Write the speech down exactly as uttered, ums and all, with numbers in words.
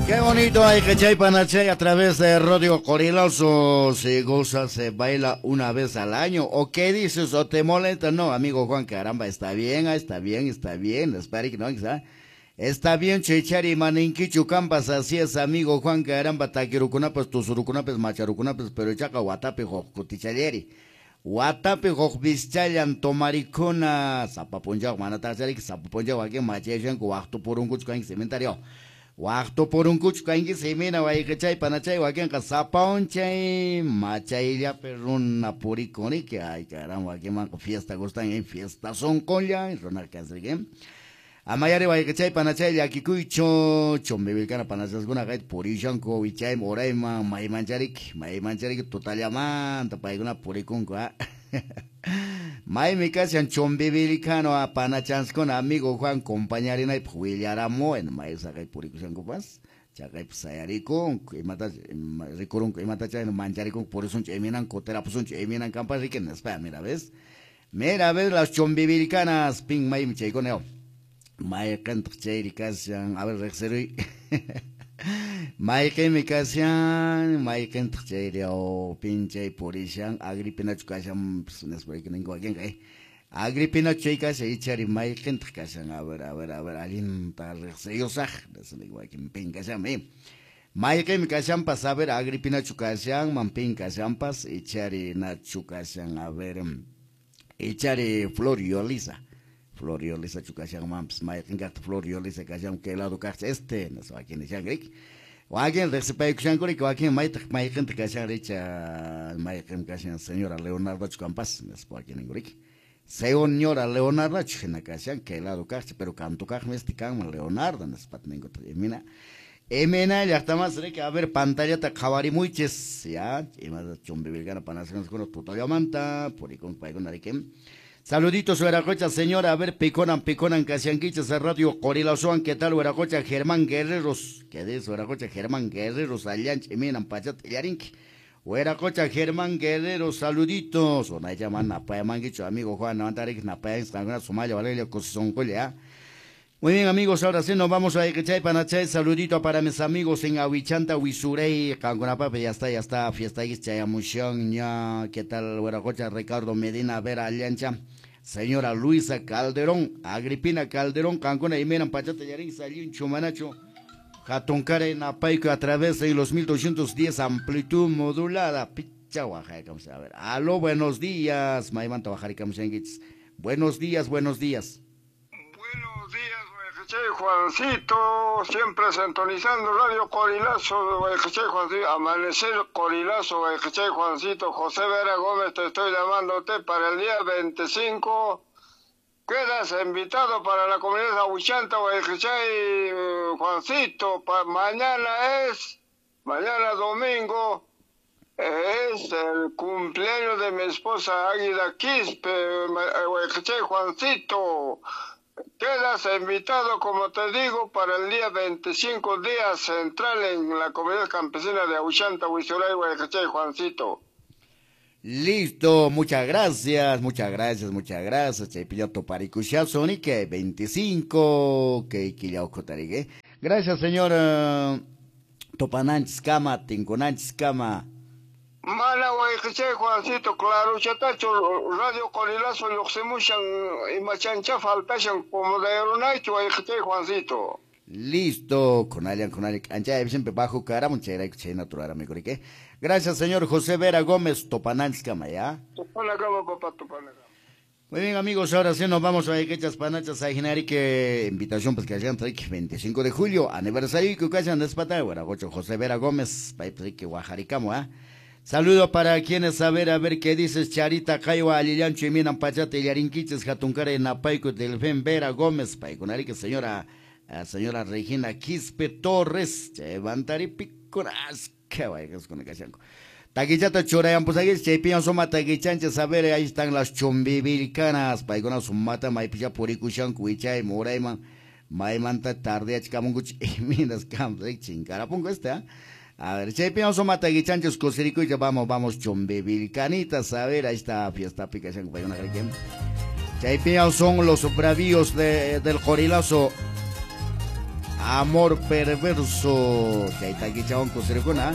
Qué bonito hay que chay panachay a través de Radio Qorilazo. Se goza, se baila una vez al año. ¿O qué dices? ¿O te molesta? No, amigo Juan, caramba, está bien, está bien, está bien. Espera que no, ¿sabes? Está bien, chechari, maninquichu, campas, así es, amigo Juan, caramba, taquirucunapas, tusurucunapas, macharucunapas, pero chaca, guatape, jocutichayeri. Guatape, jocbischallan, tomaricuna, zapapunchao, manatacharik, zapapunchao, aquí machayashanku, waqtupurunkuchu, kanki cementario. Waqtupurunkuchu, kanki semina, wayqichay, panachay, wakinqa, zapaunchay, machayllapi runa purikuniki, ay, caramba, aquí manqa fiesta gustan, en fiesta son colla, runa kasrique. Amayari wayqichay panachay llakikuychu chumbivilkana panachaskuna kayta purishanku wichayman urayman maymanchariki maymanchariki tutallamanta paykuna purikunku ah. Maymi kashan chumbivilkano panachanskuna amigo Juan compañarinaypaq willaramuwan may saqay purikushankupas chaqaypi sayarikunku imata rikurunku imata chayna mancharikunku purisunchu iminanku terapusunchu iminan kampas riki nispa mira ves mira ves las chumbivilkanas pin maymi chaykuna mayqintaq chayri kashan a ver riqsiruy mayqinmi kashan mayqintaq chayri o pinchay purishan Agripinachu kashan nispa ninku wakinqa eh Agripinachu chay kashan ichari mayqintaq kashan a ver a ver a ver allinta riqsiyusaq ninku wakin pin kashan eh mayqinmi kashanpas a ver Agripinachu kashanman pin kashanpas ichari nachu kashan a ver ichari Flor Yolisa Flor Yolisa chukashan mamps mayqin kaqta Flor Yolisa kashan kay lado kaqcha este nispa wakin nishanrik wakin riqsipaykushankurik wakin maytaq mayqinta kashan richa mayqin kashan señora Leonardo chukampas nispa wakin ninkurik señora Leonardo hina kashan kay lado kaqcha pero kantu kaqmi este kanman Leonardo nispa ninkutaq imina imina llaqtamas riki a ver pantallata qhawarimuychis ya imata chumbivilkana panasqankuna tutallamanta purikun paykuna riki. Saluditos, Hueracocha, señora. A ver, piconan, piconan, casianquichas, a Radio Qorilazoan. ¿Qué tal, Hueracocha? Germán Guerreros. ¿Qué dice, Hueracocha? Germán Guerreros, Allanch, Eminan, Pachat, Yarinki. Hueracocha, Germán Guerrero, saluditos. Ona llaman, Napayamanguicho, amigo Juan, Navantarik, Napayan, Sumaya, Valeria, Cosoncolia. Muy bien, amigos, ahora sí nos vamos a Ichay, Panachay. Saludito para mis amigos en Awichanta, Huisurey, Canconapape, ya está, ya está, fiesta Chayamushón, ya. ¿Qué tal, Hueracocha? Ricardo Medina, Vera Allancha. Señora Luisa Calderón, Agripina Calderón, Cancuna, Imeran, Pachata, Yarín, Salín, Chumanacho, Jatuncare, Napaico, a través de los mil doscientos diez, amplitud modulada. Picha, Oaxaca, a ver. Aló, buenos días, Maymanta, Oaxaca, buenos días, buenos días. Buenos días, Guayajichay Juancito, siempre sintonizando Radio Qorilazo, Guayajichay Juancito, Amanecer Qorilazo, Guayajichay Juancito, José Vera Gómez, te estoy llamándote para el día veinticinco. Quedas invitado para la comunidad de Ahuichanta, Guayajichay Juancito, pa, mañana es, mañana domingo, es el cumpleaños de mi esposa Águila Quispe, Guayajichay Juancito. Quedas invitado, como te digo, para el día veinticinco, día central en la comunidad campesina de Ahuichanta, Huizuray, Guayajichay, Juancito. Listo, muchas gracias, muchas gracias, muchas gracias. Chaypilla toparikushazo, ni que veinticinco, que quillaucotarigue. Gracias, señor uh, Topananchis Kama, Tinconanchis Kama. Mana Guayajichay Juancito, claro, chatacho, Radio Qorilazo, lluqsimushan, imachancha faltashan, como de Aeronaicho, Guayajichay Juancito. Listo, con alguien, con alguien, ancha, siempre bajo cara, mucha natural, amigo, ¿qué? Gracias, señor José Vera Gómez, Topananchis Kama, ¿ya? Topanagama, papá, Topanagama. Muy bien, amigos, ahora sí nos vamos a Iquechas Panachas a que invitación, pues que hayan veinticinco de julio, aniversario que hayan despatar, Guaragocho José Vera Gómez, que Guajaricamo, ¿ah? Saludo para quienes, a ver, a ver qué dices, Charita, Caiwa, Alillancho, Iminan, Pachate, Yarinquiches, Jatuncare, Napaico, Delfén, Vera Gómez, Paiconarique, señora, señora Regina Quispe Torres, Chevantari, Picoras, qué vayas con el cachanco. Taquichata, Chorayan, pues ahí, Cheipian, Soma, Taquichanches, a ver, ahí están las chumbivilcanas, Paicona, Sumata, Maipicha, Puricushan, Cuichay, Morayman, Maimanta, Tardea, Chicamunguch, Iminas, Camps, Chincarapungo, este, ¿ah? A ver, Cheipian, Soma, Taquichanches, Cosirico, ya vamos, vamos, chumbivilcanitas, a ver, ahí está, fiesta, Picachanco, Paicona, Cheipian son los bravíos de, del Qorilazo. Amor Perverso. Chay takichawan kusirikuna.